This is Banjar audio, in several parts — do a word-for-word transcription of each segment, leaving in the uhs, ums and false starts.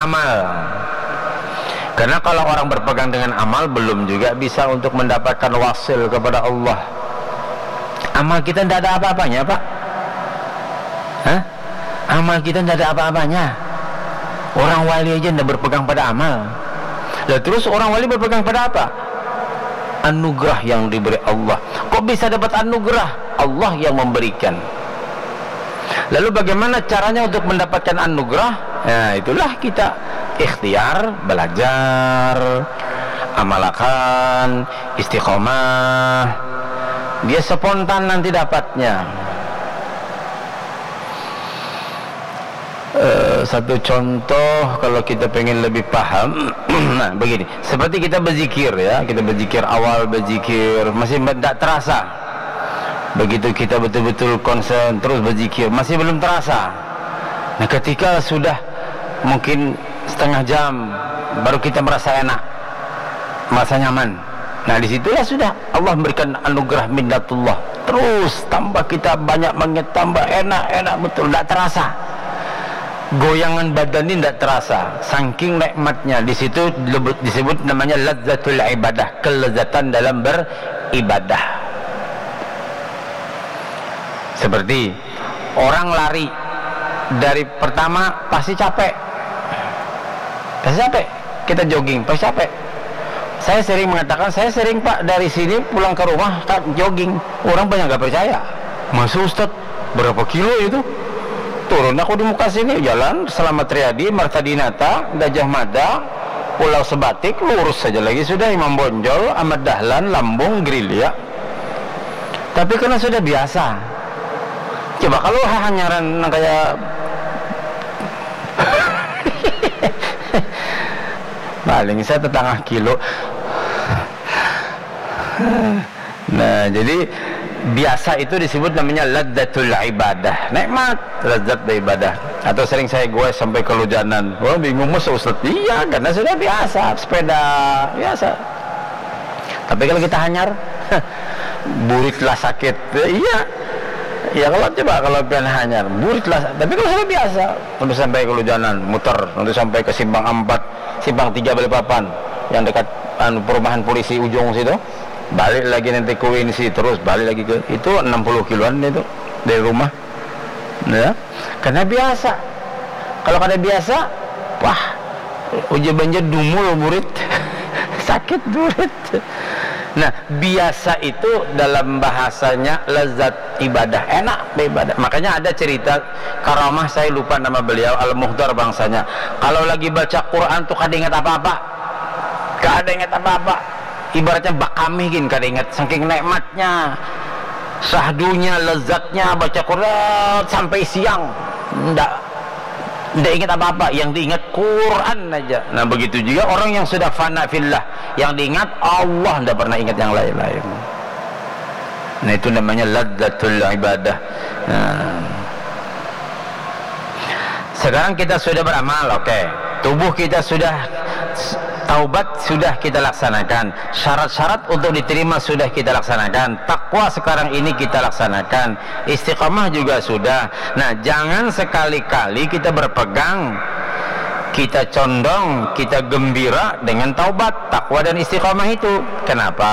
amal. Karena kalau orang berpegang dengan amal, belum juga bisa untuk mendapatkan wasil kepada Allah. Amal kita tidak ada apa-apanya, Pak. Hah? Amal kita tidak ada apa-apanya. Orang wali aja tidak berpegang pada amal. Lah, terus orang wali berpegang pada apa? Anugerah yang diberi Allah. Kok bisa dapat anugerah? Allah yang memberikan. Lalu bagaimana caranya untuk mendapatkan anugerah? Nah, itulah kita ikhtiar, belajar, amalkan, istiqomah. Dia spontan nanti dapatnya. Eh, satu contoh, kalau kita pengen lebih paham, nah, begini, seperti kita berzikir, ya, kita berzikir, awal berzikir masih tidak terasa. Begitu kita betul-betul konsen terus berzikir, masih belum terasa. Nah, ketika sudah mungkin setengah jam, baru kita merasa enak, merasa nyaman. Nah, disitulah sudah Allah memberikan anugerah minnatullah. Terus tambah kita banyak banget, tambah enak, enak betul, tidak terasa. Goyangan badan ini tidak terasa, saking nikmatnya. Di situ lebut-, disebut namanya lazzatul ibadah, kelezatan dalam beribadah. Seperti orang lari, dari pertama pasti capek, pasti capek. Kita jogging, pasti capek. Saya sering mengatakan, saya sering, Pak, dari sini pulang ke rumah, Kak, jogging. Orang banyak nggak percaya. Masa, Ustadz, berapa kilo itu? Turun aku di muka sini, jalan Selamat Riyadi, Marta Dinata, Gajah Mada, Pulau Sebatik, lurus saja lagi sudah, Imam Bonjol, Ahmad Dahlan, Lambung, Gerilya. Tapi karena sudah biasa. Coba kalau hahanyaran nang kayak paling saya tetangah kilo. Nah, jadi biasa itu disebut namanya ladzatul ibadah, nikmat, lezat beribadah. Atau sering saya goes sampai kelujanan. Wah, bingung, "Masa, Ustaz?" Iya, karena sudah biasa, sepeda biasa. Tapi kalau kita hanyar, burit lah sakit. Ya, iya. Ya, kalau coba kalau pian hanyar, burit lah. Tapi kalau sudah biasa, untuk sampai kelujanan, muter, untuk sampai ke simpang empat, simpang tiga Balikpapan, yang dekat, anu, perumahan polisi ujung situ, balik lagi nanti ke U N C, terus balik lagi ke, itu enam puluh kiloan itu dari rumah. Ya, karena biasa. Kalau kada biasa, wah, ujar banjar dumul burit. Sakit burit. Nah, biasa itu dalam bahasanya lezat ibadah, enak beribadah. Makanya ada cerita karamah, saya lupa nama beliau, Al-Muhdar bangsanya. Kalau lagi baca Quran tuh kada ingat apa-apa. Kada ingat apa-apa. Ibaratnya bakamih gin, kada ingat. Saking nikmatnya, sahdunya, lezatnya baca Quran sampai siang. Ndak, ndak ingat apa-apa. Yang diingat Quran aja. Nah, begitu juga orang yang sudah fana fillah. Yang diingat Allah, ndak pernah ingat yang lain-lain. Nah, itu namanya ladzatul ibadah. Nah. Sekarang kita sudah beramal, oke. Tubuh kita sudah s-, taubat sudah kita laksanakan. Syarat-syarat untuk diterima sudah kita laksanakan. Takwa sekarang ini kita laksanakan. Istiqomah juga sudah. Nah, jangan sekali-kali kita berpegang, kita condong, kita gembira dengan taubat, takwa dan istiqomah itu. Kenapa?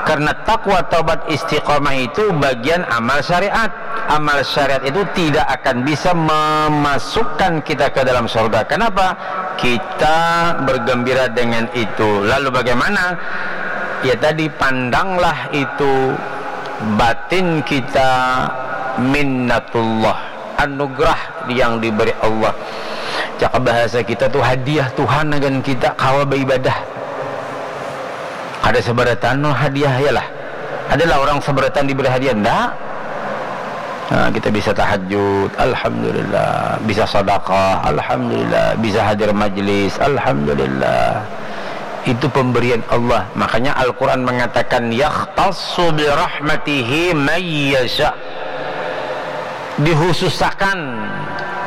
Karena takwa, taubat, istiqomah itu bagian amal syariat. Amal syariat itu tidak akan bisa memasukkan kita ke dalam surga. Kenapa? Kita bergembira dengan itu. Lalu bagaimana? Ya tadi, pandanglah itu batin kita minnatullah, anugerah yang diberi Allah. Cakap bahasa kita tuh, hadiah Tuhan akan kita kawa beribadah. Kada seberatan no hadiah, ya lah. Adalah orang seberatan diberi hadiah, ndak? Nah, kita bisa tahajud, alhamdulillah. Bisa sedekah, alhamdulillah. Bisa hadir majlis, alhamdulillah. Itu pemberian Allah. Makanya Al-Quran mengatakan, "Yakhtassu bi rahmatihi may yasha." Dikhususakan,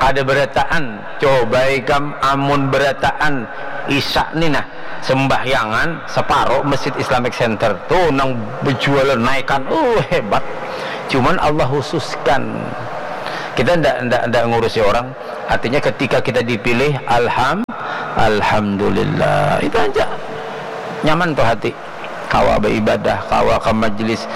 kada berataan. Coba ikam amun berataan Isya ni nah, sembahyangan separuh Masjid Islamic Center. Tuh, nang bejualan naikan, uh, hebat. Cuman Allah khususkan. Kita ndak, ndak, ndak ngurusi orang. Artinya ketika kita dipilih, alham, alhamdulillah. Itu aja. Nyaman tuh hati. Kawa beribadah, kawa ke majelis,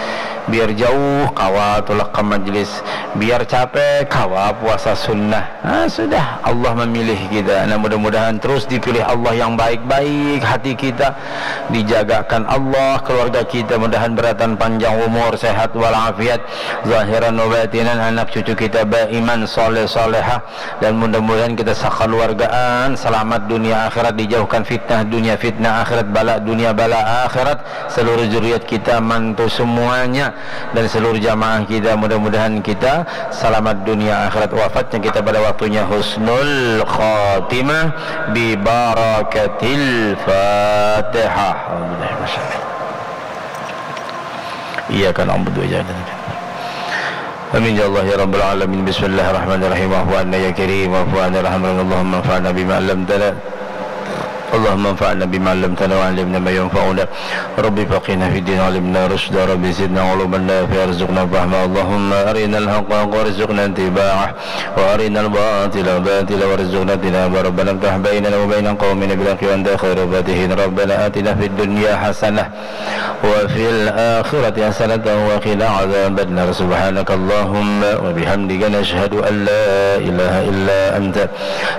biar jauh, kawa tulak ke majelis, biar capek, kawa puasa sunnah. Nah, sudah, Allah memilih kita. Nah, mudah-mudahan terus dipilih Allah yang baik-baik hati kita, dijagakan Allah keluarga kita, mudahan beratan panjang umur, sehat walafiat, zahiran wa batinan, anak cucu kita beriman, soleh, solehah, dan mudah-mudahan kita sakaluargaan selamat dunia akhirat, dijauhkan fitnah dunia, fitnah akhirat, bala dunia, bala akhirat, seluruh zuriat kita, mantu semuanya, dan seluruh jamaah kita, mudah-mudahan kita selamat dunia akhirat, wafatnya kita pada waktunya husnul khatimah bi barakatil Fatihah. Alhamdulillah. Iyyaka na'budu wa iyyaka nasta'in. Amin ya Allah ya rabbal alamin. Bismillahirrahmanirrahim. Wa'fu anna ya karim, wa'fu anna ya rahman. Allahumma anfa'na bima 'allamtana. Allahumma anfa'na bima 'allamtana wa 'allimna ma yanfa'una. Rabbi faqihna fid din, 'allimna rusyda. Rabbi zidna 'ilman nafi'a, warzuqna fahma. Allahumma arinal haqqa haqqa warzuqna ittiba'ah, wa arinal batila batila warzuqna ijtinaba. Rabbana iftah bainana wa baina qaumina bil haqqi wa anta khairul fatihin. Rabbana atina fid dunya hasanah wa fil akhirati hasanatan wa qina adzabannar. Subhanakallahumma wa bihamdika, nasyhadu an la ilaha illa anta,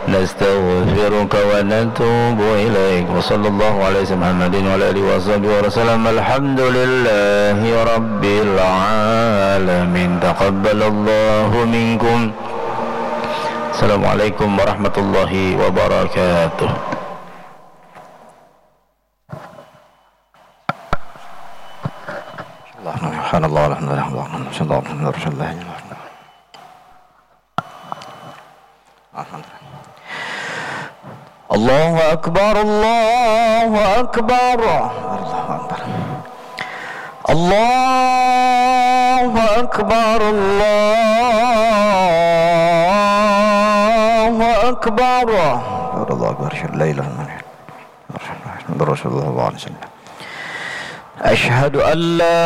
nastaghfiruka wa natubu ilaik. Wa sallallahu ala sayyidina Muhammadin wa ala alihi wa sahbihi wa sallam. Alhamdulillahi rabbil alamin. Taqabbalallahu minkum. Assalamualaikum warahmatullahi wabarakatuh. Subhanallah, alhamdulillah, alhamdulillah, alhamdulillah. Allahu Akbar, Allahu Akbar. Allahu Akbar. Allahu Akbar, Allahu Akbar. Allahu Akbar. Asyhadu an la ilaha illallah. Rasulullah sallallahu alaihi wasallam. Asyhadu an la